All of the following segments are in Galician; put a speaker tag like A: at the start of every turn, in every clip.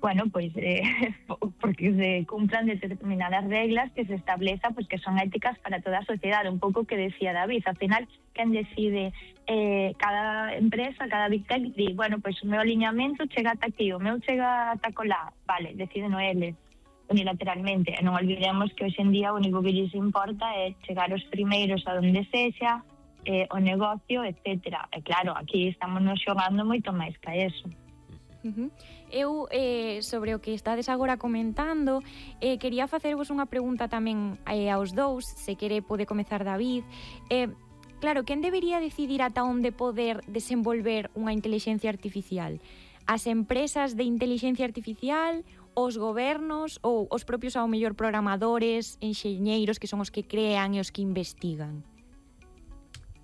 A: bueno, pois porque se cumplan determinadas reglas que se estableza, pois que son éticas para toda a sociedade, un pouco que decía David. Al final, quen decide, cada empresa, cada Big Tech di, bueno, pois o meu aliñamento chega ata aquí, o meu chega ata colá, vale, deciden eles unilateralmente. E non olvidemos que hoxe en día o único que lles importa é chegar os primeiros a donde sexa, o negocio, etcétera. E claro, aquí estamos nos xogando moito máis que eso.
B: Eu, sobre o que estades agora comentando, quería facervos unha pregunta tamén aos dous, se quere pode comezar David. Claro, quen debería decidir ata onde poder desenvolver unha inteligencia artificial? As empresas de inteligencia artificial, os gobernos ou os propios ao mellor programadores, enxeñeiros que son os que crean e os que investigan?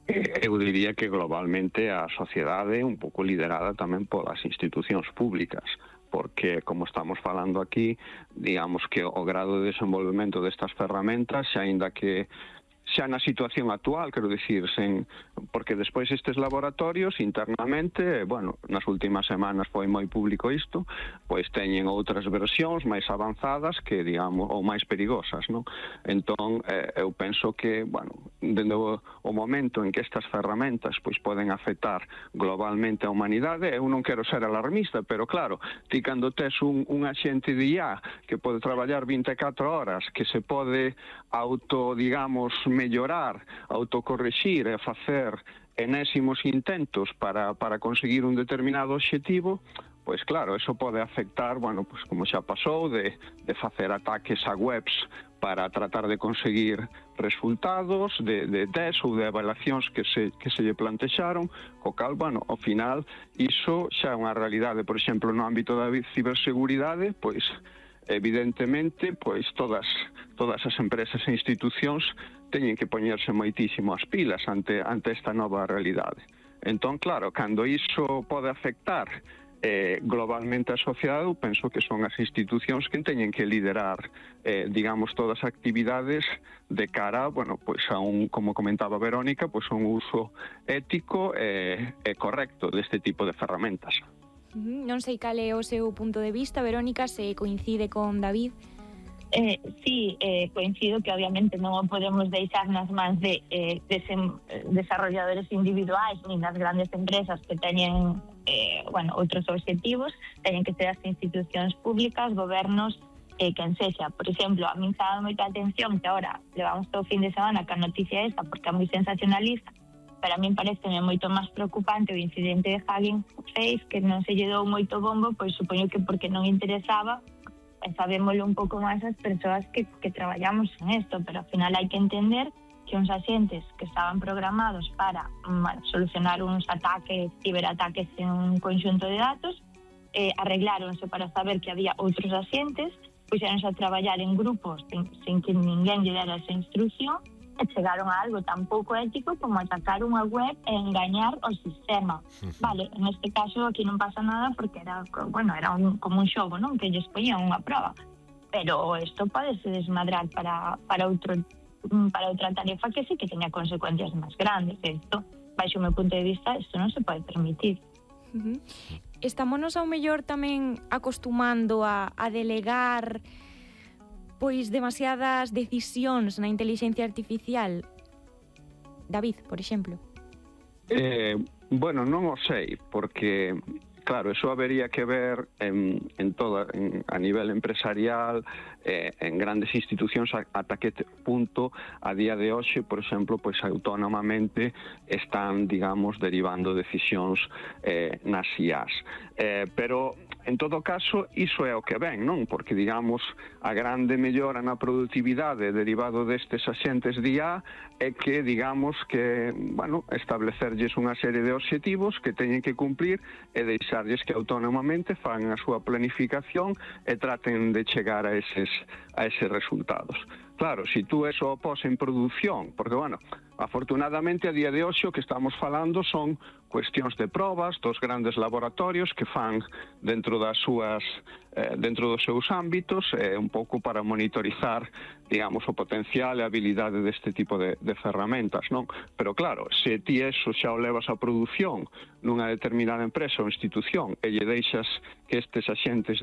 C: Eu diría que globalmente a sociedade un pouco liderada tamén polas institucións públicas, porque, como estamos falando aquí, digamos que o grado de desenvolvemento destas ferramentas, aínda que xa na situación actual, quero dicir, porque despois estes laboratorios internamente, bueno, nas últimas semanas foi moi público isto, pois teñen outras versións máis avanzadas que, digamos, ou máis perigosas, non? Entón, eu penso que, bueno, dende o momento en que estas ferramentas pois poden afectar globalmente a humanidade, eu non quero ser alarmista, pero claro, ti cando tes un axente de IA que pode traballar 24 horas, que se pode digamos, mellorar, autocorrexir e facer enésimos intentos para conseguir un determinado obxectivo, pois claro, eso pode afectar, bueno, pois como xa pasou, de facer ataques a webs para tratar de conseguir resultados de test ou de evaluacións que se lle plantexaron, co cal, bueno, ao final, iso xa é unha realidade. Por exemplo, no ámbito da ciberseguridade, pois evidentemente, pois todas as empresas e institucións teñen que poñerse moitísimo as pilas ante esta nova realidade. Entón, claro, cando iso pode afectar globalmente a sociedade, eu penso que son as institucións que teñen que liderar, digamos, todas as actividades de cara, bueno, pois a como comentaba Verónica, pois a un uso ético e correcto deste tipo de ferramentas.
B: Non sei cal é o seu punto de vista, Verónica, se coincide con David.
A: Sí, coincido que obviamente non o podemos deixar nas mans de desarrolladores individuais nin das grandes empresas que teñen outros obxectivos. Teñen que ser as institucións públicas, gobernos, quen sexa. Por exemplo, a min está moita atención que agora levamos todo o fin de semana ca noticia esta porque é moi sensacionalista, pero a min pareceme moito máis preocupante o incidente de Hugging Face, que non se lle dou moito bombo, pois supoño que porque non interesaba, e sabémoslo un pouco máis as persoas que traballamos en isto, pero ao final hai que entender que uns axentes que estaban programados para solucionar uns ataques, ciberataques en un conxunto de datos, arregláronse para saber que había outros axentes, puxéronse a traballar en grupos sin que ninguén lle dera esa instrucción, e chegaron a algo tan pouco ético como atacar unha web e engañar o sistema. Vale, en este caso aquí non pasa nada porque era como un xogo, non? Que ellos poñían unha prova. Pero isto podese desmadrar para outra tarefa que sí que teña consecuencias máis grandes. Isto, baixo o meu punto de vista, isto non se pode permitir.
B: Estámonos ao mellor tamén acostumando a delegar pois demasiadas decisións na inteligencia artificial. David, por exemplo.
C: Bueno, non o sei, porque claro, eso habería que ver a nivel empresarial, en grandes institucións, ata que punto a día de hoxe, por exemplo, pois autónomamente están, digamos, derivando decisións nas IAs. Pero en todo caso, iso é o que ven, non? Porque, digamos, a grande mellora na produtividade derivado destes axentes de IA é que, digamos, que, bueno, establecerlles unha serie de obxectivos que teñen que cumplir e deixarlles que autónomamente fan a súa planificación e traten de chegar a eses resultados. Claro, se tú eso pos en produción, porque, bueno, afortunadamente a día de hoxe o que estamos falando son cuestións de probas dos grandes laboratorios que fan dentro dos seus ámbitos, un pouco para monitorizar, digamos, o potencial e a habilidade deste tipo de ferramentas, non? Pero claro, se ti eso xa o levas a produción nunha determinada empresa ou institución e lle deixas que estes axentes de